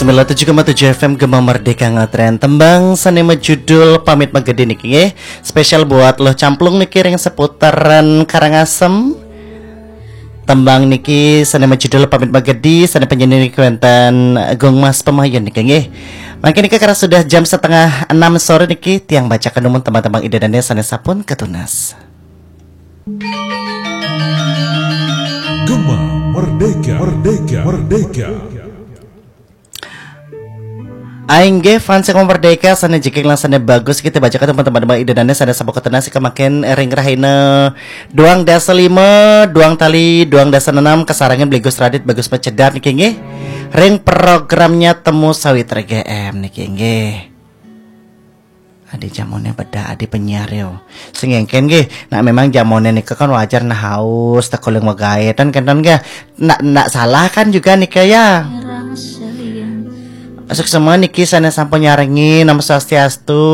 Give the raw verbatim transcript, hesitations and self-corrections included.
Sembilan tujuh koma tujuh F M Gema Merdeka Ngetren. Tembang sane majudul Pamit Magedi niki nggih. Spesial buat Luh Camplung niki ring seputaran Karangasem. Tembang niki sane majudul Pamit Magedi, sane penyanyi niki wenten Gung Mas Pemayun niki nggih. Mangkin niki karena sudah jam setengah enam sore niki, tiang bacaken dumun tembang-tembang Ida Dane sane sampun katunas. Gema Merdeka, Merdeka, Merdeka. Ainggih fans yang merdeka, sane jegeg lan sane bagus, kita bacaken teman-teman Ida Dane sane sampun katunas, kemaken ring rahina duang dasa lima, duang tali, duang dasa enam, kasarengin Blegus Radit, Bagus Pecedat niki nggih. Ring programnya Temu Sawitra G M niki nggih. Adi jamone beda, adi penyiar yo. Sing engken nggih, nak memang jamone nika kan wajar nah haus, tekuling magaetan kenten nggih. Nak, nak salah kan juga nika ya. Suksma niki sane sampun nyarengi, Namo Swastiastu.